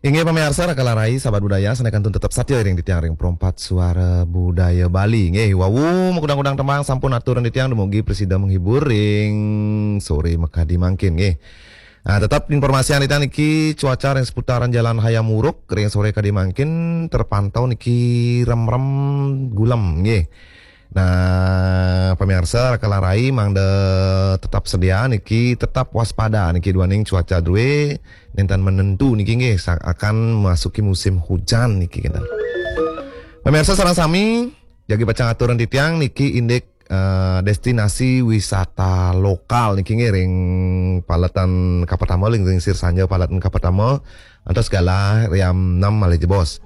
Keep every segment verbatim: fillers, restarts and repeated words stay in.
Inggih pamiarsa, Raka Larai, sahabat budaya, sané kantun tetep satia ring titiang ring Pro empat Suara Budaya Bali. Nggih, wau makudang-kudang tembang sampun atur titiang dumugi prasida menghibur ring sore makadi mangkin, nggih. Nah, tetep informasian titiang niki cuaca ring seputaran Jalan Hayam Wuruk ring sore kadi mangkin terpantau niki remrem gulem, nggih. Nah, pamiarsa, Raka Larai mangda tetap sedia niki, tetap waspada niki duaning cuaca drué nénten menentu niki, nggih, sa-, akan masuki musim hujan niki, kénten. Pamiarsa sareng sami, jagi pacang atur titiang niki indik, eh, destinasi wisata lokal niki, nggih, ring paletan kapertama, ring, ring sir sanja paletan kapertama, antos galah jam enam malih jebos.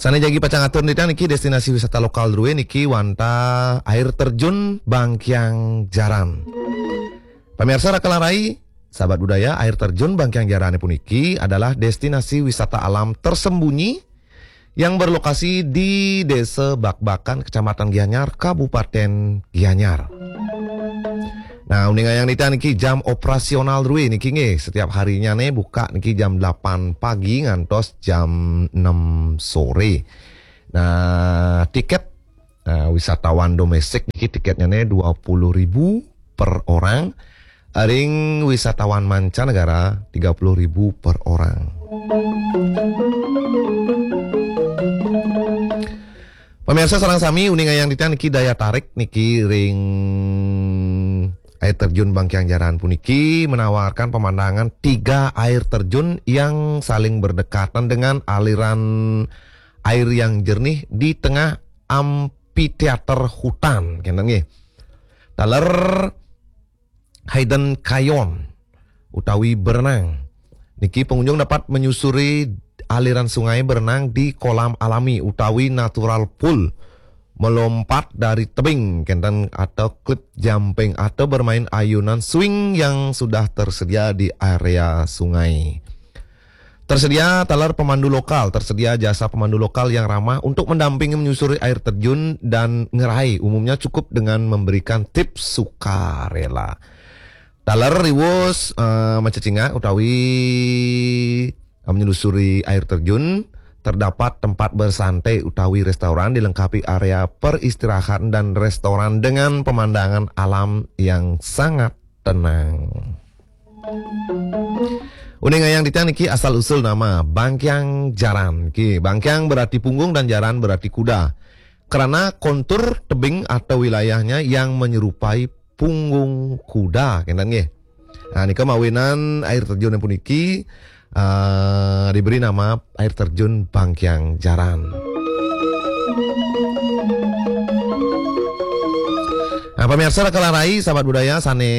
Sané jagi pacang atur titiang niki destinasi wisata lokal drué niki wantah air terjun Bangkiang Jaran. Pamiarsa, Raka Larai, sahabat budaya, air terjun Bangkiang Jarané puniki adalah destinasi wisata alam tersembunyi yang berlokasi di Desa Bakbakan, Kecamatan Gianyar, Kabupaten Gianyar. Nah, uning ayang titiang niki jam operasional drué niki, nggih, setiap harinya né buka niki jam delapan pagi ngantos jam enam sore. Nah, tiket, nah, wisatawan domestik niki tiketnya né dua puluh ribu per orang. Ring wisatawan mancanegara tiga puluh ribu per orang. Pamiarsa sareng sami, uning ayang titiang niki daya tarik niki ring air terjun Bangkiang Jaran puniki menawarkan pemandangan tiga air terjun yang saling berdekatan dengan aliran air yang jernih di tengah amphitheater hutan, kénten, nggih. Taler Hidden Canyon utawi berenang. Niki pengunjung dapat menyusuri aliran sungai, berenang di kolam alami utawi natural pool, melompat dari tebing, kénten, atau cliff jumping, atau bermain ayunan swing yang sudah tersedia di area sungai. Tersedia taler pemandu lokal, tersedia jasa pemandu lokal yang ramah untuk mendampingi menyusuri air terjun dan ngerai, umumnya cukup dengan memberikan tips sukarela. Taler riwus, eh, macecingak utawi eh, menyusuri air terjun, terdapat tempat bersantai utawi restoran, dilengkapi area peristirahatan dan restoran dengan pemandangan alam yang sangat tenang. Uning ayang titiang niki asal usul nama Bangkiang Jaran. Ki, Bangkiang berarti punggung dan Jaran berarti kuda. Karena kontur tebing atau wilayahnya yang menyerupai punggung kuda, kénten, nggih. Nah, nika mawinan air terjun puniki, eh, diberi nama air terjun Bangkiang Jaran. Nah, pamiarsa, Raka Larai, sahabat budaya sané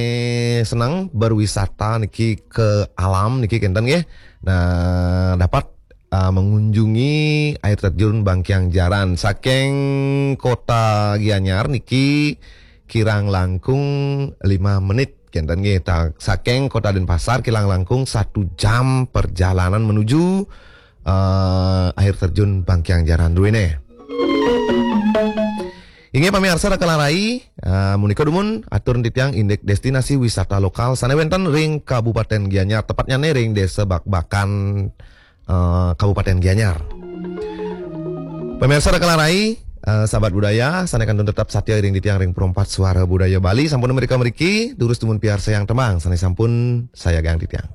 seneng berwisata niki ke alam niki, kénten, nggih. Nah, dapat, eh, mengunjungi air terjun Bangkiang Jaran saking kota Gianyar niki kirang langkung lima menit, kénten, nggih. Ta-, saking kota Denpasar kirang langkung satu jam perjalanan menuju, eh, air terjun Bangkiang Jaran druéné. Inggih pamiarsa, Raka Larai, eh, punika dumun atur titiang indik destinasi wisata lokal sané wénten ring Kabupaten Gianyar, tepatnyané ring Desa Bakbakan, eh, Kabupaten Gianyar. Pamiarsa, Raka Larai, eh, sahabat budaya, sané kantun tetap satia ring titiang ring Pro empat Suara Budaya Bali, sampun mrika mriki, durus dumun piarsayang tembang sané sampun sayagang titiang.